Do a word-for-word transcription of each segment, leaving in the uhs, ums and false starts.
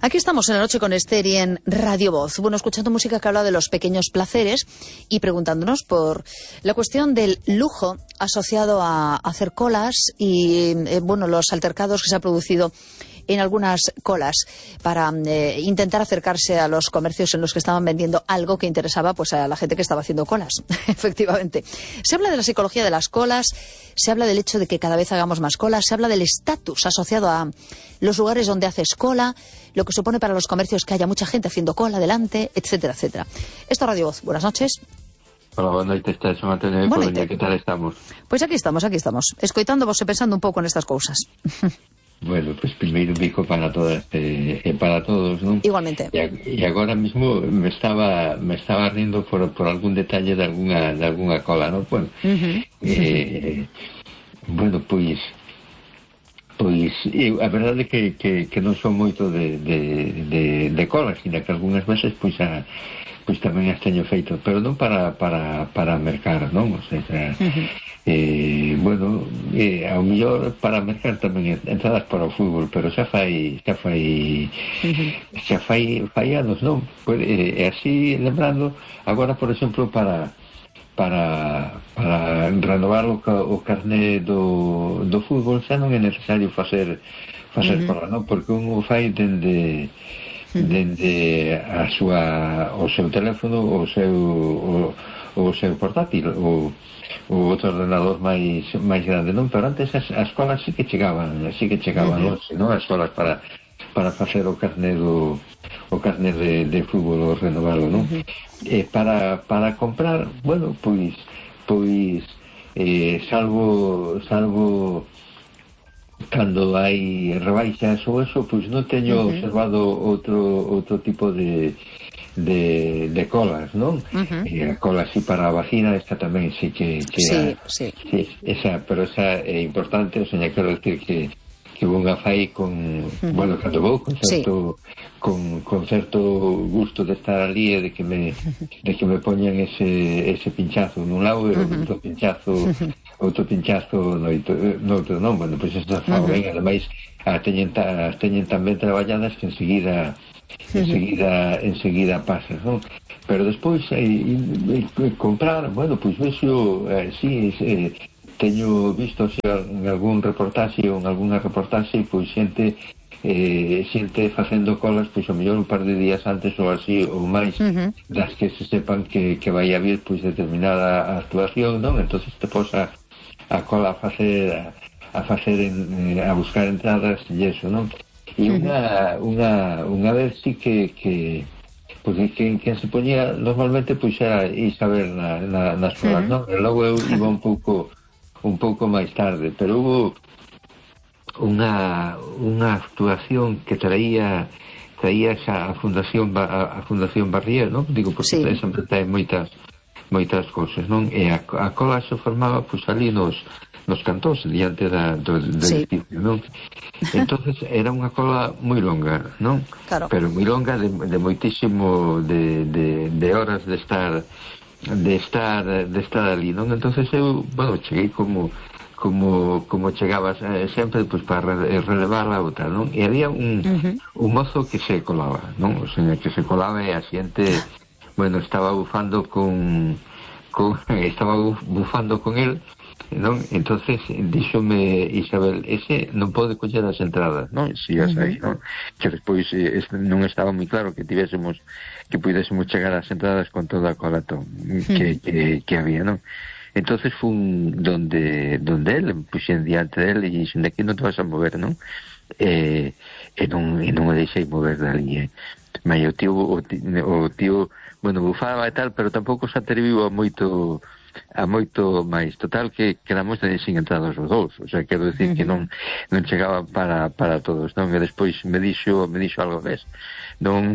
Aquí estamos en la noche con Esther y en Radio Voz. Bueno, escuchando música que habla de los pequeños placeres y preguntándonos por la cuestión del lujo asociado a hacer colas y, eh, bueno, los altercados que se ha producido en algunas colas para eh, intentar acercarse a los comercios en los que estaban vendiendo algo que interesaba pues a la gente que estaba haciendo colas. Efectivamente. Se habla de la psicología de las colas, se habla del hecho de que cada vez hagamos más colas, se habla del estatus asociado a los lugares donde haces cola, lo que supone para los comercios que haya mucha gente haciendo cola delante, etcétera, etcétera. Esto es Radio Voz. Buenas noches. Hola, boa noite, está Son Antonio de Coruña, que tal estamos? Pois aquí estamos, aquí estamos, escoitándovos e pensando un pouco nestas cousas. Bueno, pues primeiro un bico para todas e eh, para todos, non? Igualmente. E, e agora mismo me estaba me estaba rindo por, por algún detalle de alguna de alguna cola, non? Bueno, uh-huh. eh, bueno, pois pois eu, a verdade é que, que, que non son moito de, de, de, de cola, sino que algunhas veces pois a pois tamén as teño feito, pero non para para para mercar, non? O sea, uh-huh. eh, bueno, eh, ao mellor para mercar tamén entradas para o fútbol, pero xa fai xa fai uh-huh. xa fai fai anos, non? Pues, eh, así lembrando, agora por exemplo para para para renovar o, o carné do, do fútbol xa non é necesario facer facer uh-huh. cola, non? Porque un o fai dende dende a súa o seu teléfono, o seu o, o seu portátil, o, o outro ordenador máis máis grande, non? Pero antes as, as colas sí que chegaban, sí que chegaban, uh-huh. non? As colas para para facer o carné do o carné de, de fútbol, o renovalo, non? Uh-huh. E para para comprar, bueno, pois pois eh, salvo salvo cando hai rebaixas ou eso, pois non teño uh-huh. observado outro outro tipo de de, de colas, non? Uh-huh. E a cola así para a vagina, esta tamén sí que, que sí, a, sí. sí, esa, pero esa é importante, o sea, quero decir que que unha fai con, uh-huh. bueno, cando vou con certo sí. con, con certo gusto de estar ali e de que me de que me poñan ese ese pinchazo nun lado e uh-huh. outro pinchazo uh-huh. outro pinchazo no, no outro non, bueno, pois pues esta fa uh-huh. ben, ademais as teñen, as teñen tamén traballadas que enseguida enseguida uh-huh. enseguida pasas, non? Pero despois eh, eh, comprar, bueno, pois pues, vexo eh, si eh, teño visto se, en algún reportaxe ou en algunha reportaxe pois xente eh, xente facendo colas pois o mellor un par de días antes ou así ou máis uh-huh. das que se sepan que, que vai haber pois determinada actuación, non? Entonces te posa a cola a facer a, a facer en, a buscar entradas e eso, non? E uh-huh. unha unha unha vez sí que que porque quen, quen se poñía normalmente pois era Isabel na, na, nas colas, uh-huh. non? E logo eu iba un pouco un pouco máis tarde, pero hubo unha unha actuación que traía traía xa a Fundación a, a Fundación Barrier, non? Digo, porque sí. sempre trae moitas moitas cousas, non? E a, a cola se formaba pois ali nos nos cantós diante da, do, do sí. edificio, non? Entonces era unha cola moi longa, non? Claro. Pero moi longa de, de moitísimo de, de, de horas de estar de estar de estar ali, non? Entonces eu, bueno, cheguei como como como chegabas eh, sempre pois para relevar a outra, non? E había un uh-huh. un mozo que se colaba, non? O sea, que se colaba e a xente, bueno, estaba bufando con con estaba bufando con el, non? Entonces díxome Isabel, ese non pode coller as entradas, non? Sigas uh-huh. aí, non? Que despois eh, non estaba moi claro que tivésemos que pudésemos chegar ás entradas con toda a colatón que, que, que había, non? Entonces fun donde donde él, puxen diante dele e dixen, de aquí non te vas a mover, non? E, e non, e non me deixei mover dali, eh? Mas o tío, o tío, o tío, bueno, bufaba e tal, pero tampouco se atreviu a moito a moito máis, total que quedamos sin entradas os dous, o sea, quero decir uh-huh. que non non chegaba para, para todos, non? E despois me dixo, me dixo algo mes, non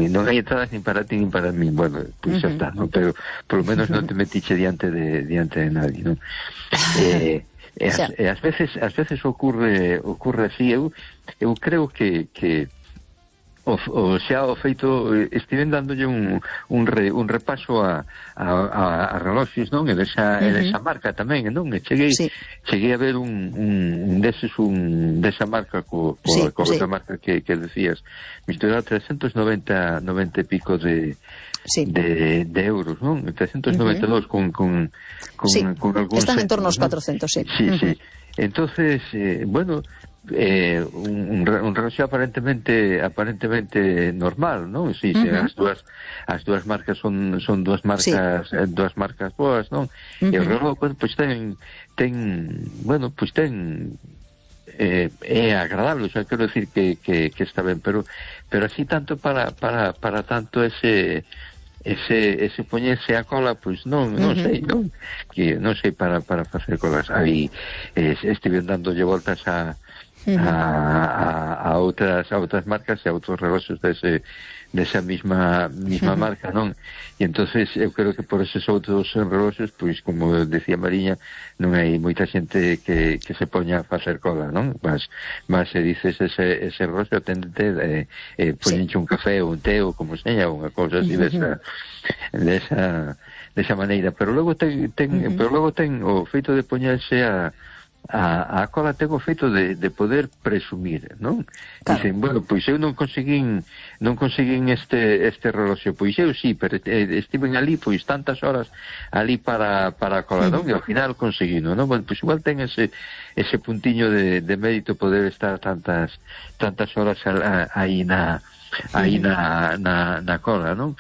non hai entradas nin para ti nin para mí, bueno, pois pues uh-huh. xa está, non? Pero polo menos non te metiche diante de diante de nadie, non? eh, e, as, e as veces as veces ocurre ocurre así, eu eu creo que que O, o xa o feito, estiven dándolle un, un, re, un repaso a, a, a, a reloxos, non? E desa, uh -huh. e desa marca tamén, non? E cheguei, sí. cheguei a ver un, un, un deses, un desa marca co, co, sí, co sí. marca que, que decías, misturado trescentos noventa e pico de sí. de, de euros, non? trescentos noventa e dos uh -huh. con, con, con, sí. con algún están centro, en torno aos ¿no? cuatrocientos, sí. Sí, uh -huh. sí. Entonces, eh, bueno, eh, un, un reloj aparentemente aparentemente normal, non? Si, sí, uh -huh. as dúas as dúas marcas son son dúas marcas, sí. dúas marcas boas, non? Uh -huh. E o reloj, bueno, pois pues ten ten, bueno, pois pues ten eh, é agradable, o sea, quero decir que, que, que está ben, pero pero así tanto para para para tanto ese ese ese poñerse a cola, pois pues non, non uh -huh. sei, non? Que non sei para para facer colas. Aí eh, estive dándolle voltas a Uh -huh. a, a, a outras a outras marcas e a outros reloxos dese desa mesma mesma uh -huh. marca, non? E entonces eu creo que por esos outros reloxos, pois como decía Mariña, non hai moita xente que, que se poña a facer cola, non? Mas, mas se dices ese, ese reloxo, atendente eh, eh, poñenche sí. un café ou un té ou como seña, unha cousa así uh -huh. desa desa desa maneira, pero logo ten, ten uh -huh. pero logo ten o feito de poñerse a A, a cola ten o feito de, de poder presumir, non? Claro. Dicen, bueno, pois eu non conseguín non conseguín este este reloxo, pois eu sí, pero eh, estiven ali pois tantas horas ali para, para a cola, non? Uh -huh. E ao final conseguino, non? Bueno, pois igual ten ese ese puntiño de, de mérito poder estar tantas tantas horas aí na aí na, na, na cola, non?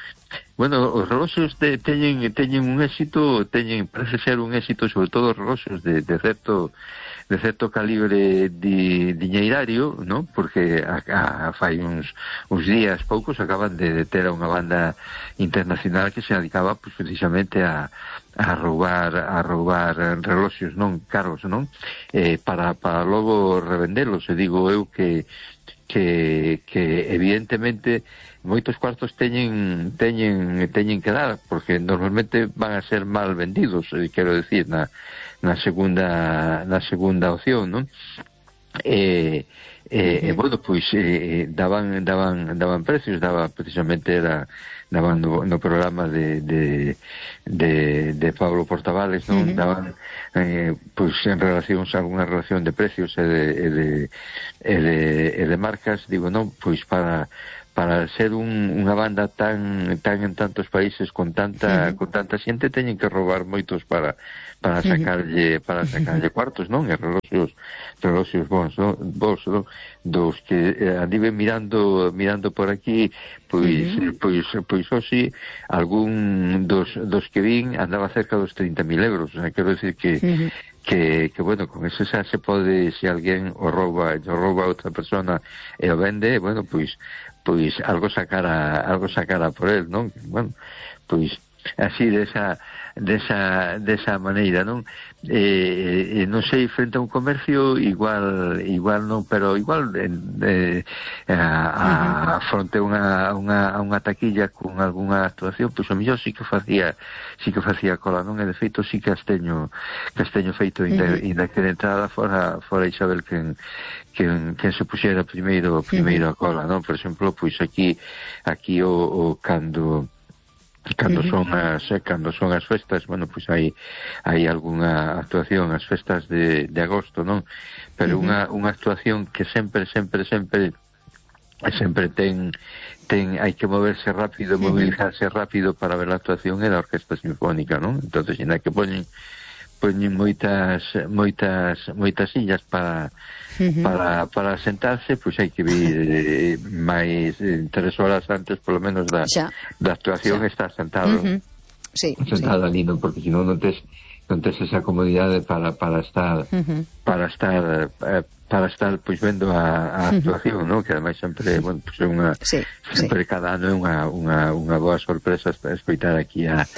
Bueno, os reloxos de, teñen, teñen un éxito, teñen, parece ser un éxito, sobre todo os reloxos de, de certo de certo calibre di, diñeirario, ¿no? Porque a, a, fai uns, uns días poucos acaban de, de ter a unha banda internacional que se dedicaba pues, precisamente a, a roubar a roubar reloxos non caros, non? Eh, para, para logo revendelos, e digo eu que que, que evidentemente moitos cuartos teñen teñen teñen que dar, porque normalmente van a ser mal vendidos, eh, quero decir, na, na segunda na segunda opción, non? Eh, eh, uh -huh. bueno, pois eh, daban daban daban precios, daba precisamente era daban no, no programa de de, de de Pablo Portavales, non? Uh -huh. Daban eh, pois en relación a alguna relación de precios e de e de e de, e de marcas, digo, non, pois para para ser un, unha banda tan tan en tantos países con tanta uh -huh. con tanta xente teñen que roubar moitos para para sacarlle para sacarlle cuartos, non? E reloxos reloxos bons, non? Vos, non? Dos que eh, andiven mirando mirando por aquí, pois uh -huh. pois pois hoxe algún dos dos que vin andaba cerca dos trinta mil euros, o sea, quero decir que uh -huh. que, que bueno, con eso xa se pode, se alguén o rouba, o rouba a outra persona e o vende, bueno, pois pois algo sacara algo sacara por él, non? Bueno, pois así desa desa desa maneira, non? Eh, eh, non sei, frente a un comercio igual igual non, pero igual eh, a, a fronte a unha, unha, a unha taquilla con algunha actuación, pois o mellor sí que facía sí que facía cola, non? E de feito sí que as teño que as teño feito inda, inda que de entrada fora, fora Isabel quen, quen, quen se puxera primeiro primeiro a cola, non? Por exemplo, pois aquí aquí o, o cando cando son as cando son as festas, bueno, pois hai hai algunha actuación as festas de, de agosto, non? Pero uh -huh. unha unha actuación que sempre sempre sempre sempre ten ten hai que moverse rápido, uh -huh. movilizarse rápido para ver a actuación é da Orquesta Sinfónica, non? Entonces, ainda que poñen poñen moitas moitas moitas sillas para uh -huh. para para sentarse, pois pues hai que vir eh, máis eh, tres horas antes polo menos da xa. da actuación xa. Estar sentado. Uh -huh. Sí, sentado sí. ali, non, porque senón non tes non tes esa comodidade para para estar uh -huh. para estar eh, para estar pois pues, vendo a, a actuación, uh -huh. non? Que ademais sempre, bueno, pois pues, é unha sí, sempre sí. cada ano é unha unha unha boa sorpresa escoitar aquí a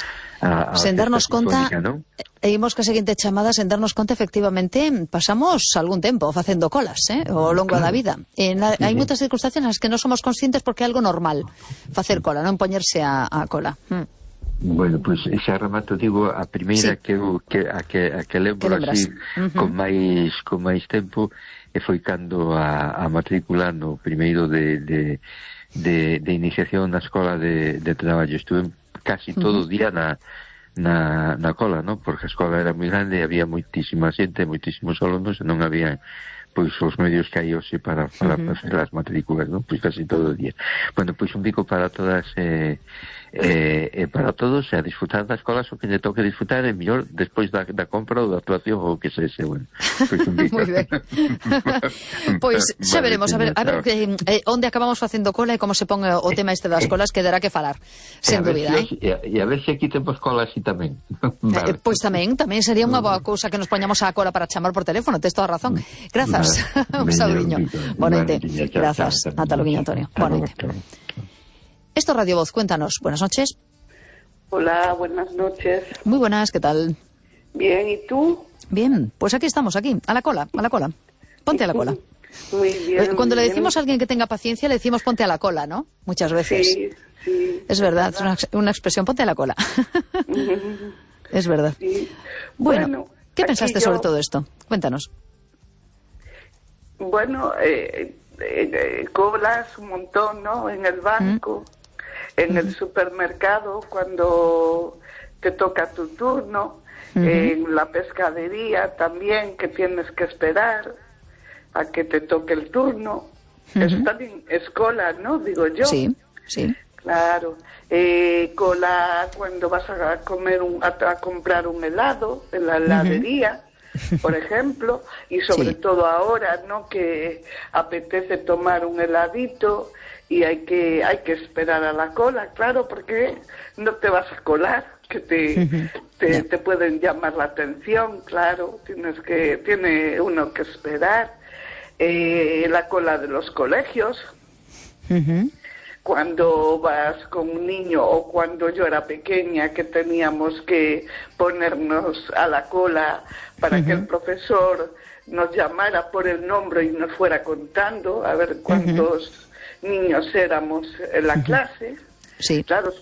A, a sen darnos conta, ¿no? E imos que a seguinte chamada, sen darnos conta, efectivamente, pasamos algún tempo facendo colas, eh, ao longo claro. da vida. En la, sí, hai sí. moitas circunstancias nas que non somos conscientes porque é algo normal facer cola, non poñerse a, a cola. Mm. Bueno, pois pues, xa remato, digo, a primeira sí. que, eu, que, a que, a que lembro así, uh -huh. con máis con máis tempo, e foi cando a, a matrícula no primeiro de, de, de, de iniciación na escola de, de traballo. Estuve casi todo o día na, na, na cola, ¿no? Porque a escola era moi grande e había moitísima xente, moitísimos alumnos, e non había pois os medios que hai hoxe para, para uh -huh. facer as matrículas, ¿no? Pois casi todo o día. Bueno, pois un bico para todas eh, eh, eh, para todos, e a disfrutar das escolas o que lle toque disfrutar, é mellor despois da, da compra ou da actuación ou que se ese, bueno. Pois un bico. Moi ben. Pois xa vale, veremos, a ver, a ver eh, onde acabamos facendo cola e como se pon o tema este das colas, que dará que falar, sen dúbida, si, eh? E a, a ver se aquí temos cola así tamén. Vale. Eh, pois tamén, tamén sería unha boa cousa que nos poñamos a cola para chamar por teléfono, tes toda a razón. Grazas. Un saludiño. Boa noite. Grazas. Ata logo, Antonio. Boa noite. Esto es Radio Voz, cuéntanos. Buenas noches. Hola, buenas noches. Muy buenas, ¿qué tal? Bien, ¿y tú? Bien, pues aquí estamos, aquí, a la cola, a la cola. Ponte a la cola. Muy bien. Cuando muy le decimos bien. a alguien que tenga paciencia, le decimos ponte a la cola, ¿no? Muchas veces. Sí, sí. Es verdad, es una, una expresión, ponte a la cola. Es verdad. Sí. Bueno, Bueno, ¿qué pensaste yo... sobre todo esto? Cuéntanos. Bueno, eh, eh, colas un montón, ¿no? En el banco, mm. en mm. el supermercado, cuando te toca tu turno, mm-hmm. en la pescadería también, que tienes que esperar a que te toque el turno. Mm-hmm. Eso también es cola, ¿no? Digo yo. Sí, sí. Claro. Eh, cola cuando vas a comer un, a, a comprar un helado en la heladería. Mm-hmm. Por ejemplo, y sobre sí. todo ahora, ¿no? Que apetece tomar un heladito y hay que hay que esperar a la cola, claro, porque no te vas a colar, que te uh-huh. te, yeah. te pueden llamar la atención, claro, tienes que tiene uno que esperar. Eh, la cola de los colegios. Uh-huh. Cuando vas con un niño o cuando yo era pequeña que teníamos que ponernos a la cola para uh-huh. que el profesor nos llamara por el nombre y nos fuera contando a ver cuántos uh-huh. niños éramos en la uh-huh. clase. Sí. Claro,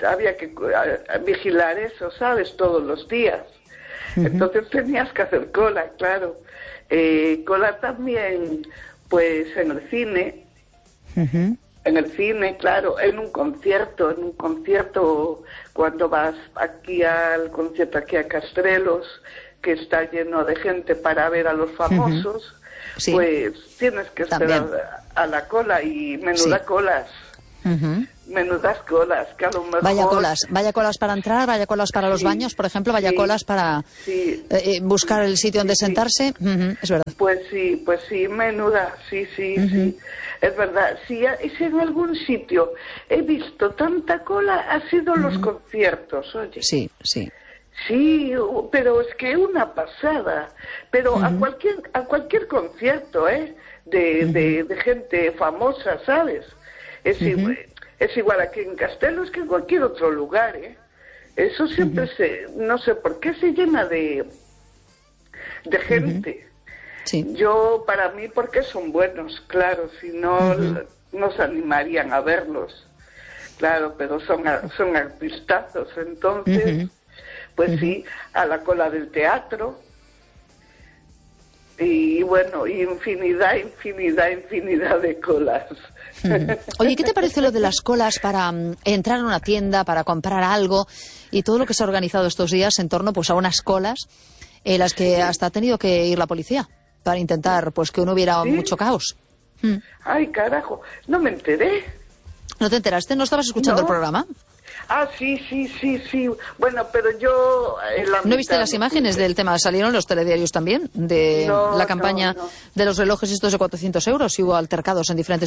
había que vigilar eso, ¿sabes? Todos los días. Uh-huh. Entonces tenías que hacer cola, claro. Eh, cola también, pues en el cine. Uh-huh. En el cine, claro, en un concierto, en un concierto, cuando vas aquí al concierto, aquí a Castrelos, que está lleno de gente para ver a los famosos, uh-huh. sí. pues tienes que esperar a, a la cola y menudas sí. colas. Uh-huh. Menudas colas, que a lo mejor... Vaya colas, vaya colas para entrar, vaya colas para los sí, baños, por ejemplo, vaya sí, colas para sí, eh, buscar el sitio donde sí, sentarse, uh-huh, es verdad. Pues sí, pues sí, menuda, sí, sí, uh-huh. sí, es verdad. Si, si en algún sitio he visto tanta cola, ha sido uh-huh. los conciertos, oye. Sí, sí. Sí, pero es que una pasada, pero uh-huh. a cualquier a cualquier concierto, ¿eh? De, uh-huh. de, de gente famosa, ¿sabes? Es uh-huh. igual, es igual aquí en Castelos que en cualquier otro lugar, ¿eh? Eso siempre uh-huh. se, no sé por qué se llena de, de gente. Uh-huh. Sí. Yo, para mí, porque son buenos, claro, si no uh-huh. nos animarían a verlos, claro, pero son, son artistazos, entonces, uh-huh. pues uh-huh. sí, a la cola del teatro. Y bueno, infinidad, infinidad, infinidad de colas. Oye, ¿qué te parece lo de las colas para um, entrar a una tienda, para comprar algo y todo lo que se ha organizado estos días en torno pues a unas colas en las que hasta ha tenido que ir la policía para intentar pues que no hubiera ¿sí? mucho caos? Mm. Ay, carajo, no me enteré. ¿No te enteraste? ¿No estabas escuchando no. el programa? Ah, sí, sí, sí, sí. Bueno, pero yo... ¿No viste las imágenes del tema? Salieron los telediarios también, de no, la campaña no, no. de los relojes estos de cuatrocientos euros y hubo altercados en diferentes